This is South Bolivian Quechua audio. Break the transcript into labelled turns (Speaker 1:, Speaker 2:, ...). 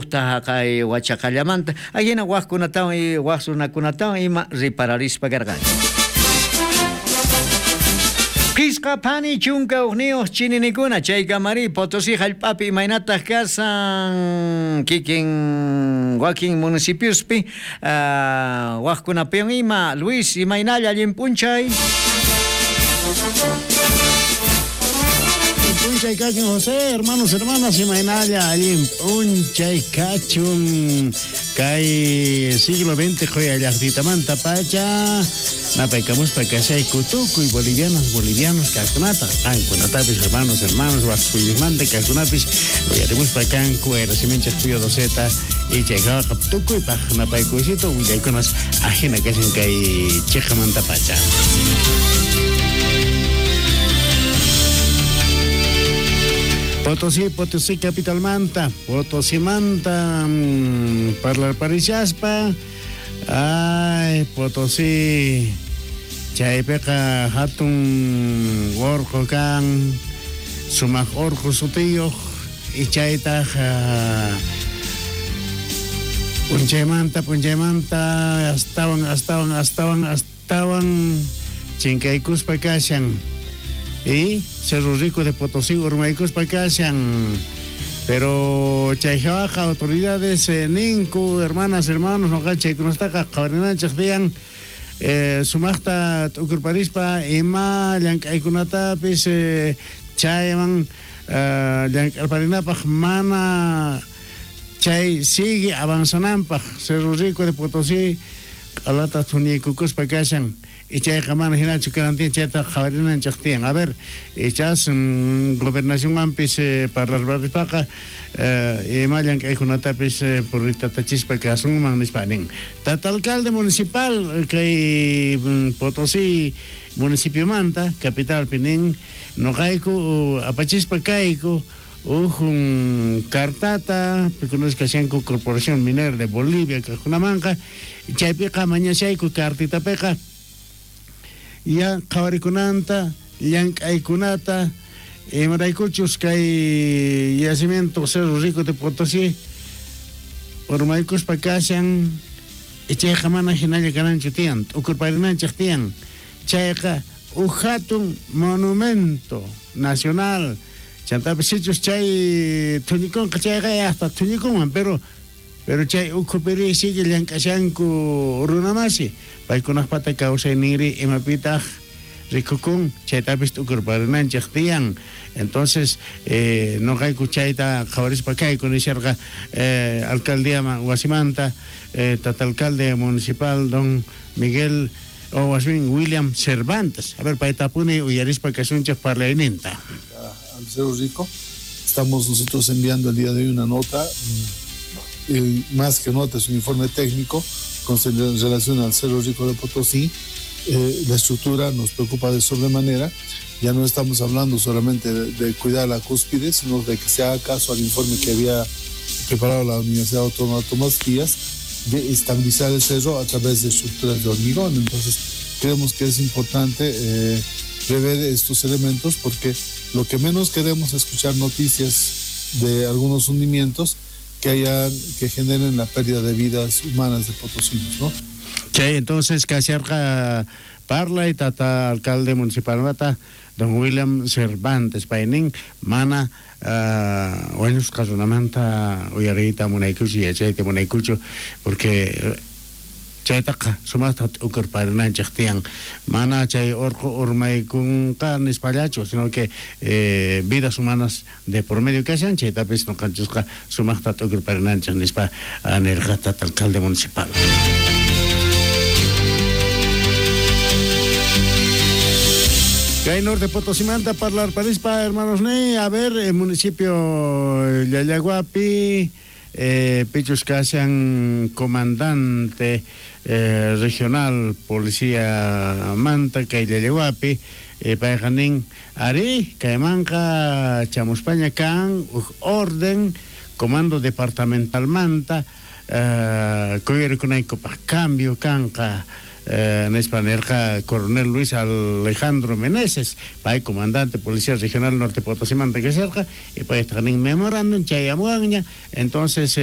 Speaker 1: Ujta jaqay wachaqallamanta ajina wajkunatawan waj runakunatawan ima ripararispa karqanchik. Phisqa phani 11 chininikuna chaykamari Potosí jallp'api imaynataq kasan kikin wakin municipiospi wajkunapiwan ima. Luis, imaynalla allin p'unchay?
Speaker 2: P'unchay kachun José, hermanos, hermanas, imaynalla allin p'unchay kachun kay siglo XX qhoya llaqtitamanta pacha napaykamuspa kashayku tukuy bolivianas, bolivianos kajkunata, qankunatapis hermanos, hermanos, waj suyusmanta kajkunapis uyarimuspa kanku wayrasiminchej Pío Doceta y chaykawaqa tukuypaj napaykuysito willaykunas ajina kashan kay cheqamanta pacha. Potosí, Potosí capitalmanta, Potosimanta parlarparishaspa, ay Potosí, chaypiqa hatun orqo kan, sumaq orqo sutiyuq, y chaytaj p'unchaymanta, p'unchaymanta, astawan, astawan, astawan, astawan chinkaykuspa kashan. Y Cerro Rico de Potosí urmaykuspa kashan. Pero chay jawaqa autoridades ninku, hermanas, hermanos, noqa chaykunastaqa qhawarinanchej tiyan sumaqta t'ukurparispa ima llank'aykunatapis chayman llank'arparinapaj mana chay sigue avanzananpaj Cerro Rico de Potosí q'alata thuniykukuspa kashan. Y chayqa mana hinachu kanan tiyan, chayta qhawarinanchej tiyan. A ver, ichas gobernacionwanpis parlarparispaqa ima llank'aykunatapis purritatachispa kasunman nispa nin. Tata alcalde municipal kay Potosí municipiomanta, capitalpi nin, noqayku apachispa kayku uj cartata, pikunasqa kashanku Corporación Minera de Bolivia kajkunamanqa, chaypiqa mañashayku cartitapiqa ya qhawarikunanta, llank'aykunata, imaraykuchus kay yacimiento Cerro Rico de Potosí urmaykuspa kashan, chayqa mana hinalla kananchu tiyan, t'ukurparinanchej tiyan, chayqa uj hatun monumento nacional, chantapis sichus chay thuñikunqa chayqa hasta thuñikunman, pero chay ukhupiri sigue llank'ashanku runamasi, paykunaqpata kawsayniri imapitaq rikukun, chaytapis t'ukurparinanchej tiyan. Entonces, noqayku chayta qhawarispa kayku nisharqa alcaldía wasimanta, tata alcalde municipal don Miguel o wasmin William Cervantes. A ver, paytapuni uyarispa kasunchej parlayninta.
Speaker 3: Al Cerro Rico estamos nosotros enviando el día de hoy una nota, más que nota, es un informe técnico con relación al Cerro Rico de Potosí. La estructura nos preocupa de sobremanera. Ya no estamos hablando solamente de cuidar la cúspide, sino de que se haga caso al informe que había preparado la Universidad Autónoma Tomás Díaz de estabilizar el cerro a través de estructuras de hormigón. Entonces, creemos que es importante prever estos elementos, porque lo que menos queremos es escuchar noticias de algunos hundimientos que generen la pérdida de vidas humanas de potosinos, ¿no?
Speaker 2: Sí, entonces, kasharqa parla y tata alcalde municipal mata don William Cervantes paynin mana wañusqa runamanta uyariyta munaykuchu, yachayta munaykuchu, porque chaytaqa sumaqta t'ukurparinanchej tiyan, mana chay orqo urmaykunqa nispallachu, sino que vidas humanas de por medio kashan, chaytapis noqanchisqa sumaqta t'ukurparinanchej nispa nirqa tata alcalde municipal. Kay Norte Potosimanta parlar parispa, hermanos ne, a ver, el municipio Llallaguapi, Pichus kashan comandante regional policía Manta kay Llallaguapi, payqa nin ari kaymanqa chamuspaña kan uj orden comando departamental Manta, kuyarikunaykupaj cambio kanqa. Nispa nirqa coronel Luis Alejandro Meneses, pay comandante Policía Regional Norte Potosí Manta kasharqa, y paytaqa nin memorándum chayamuwanña. Entonces,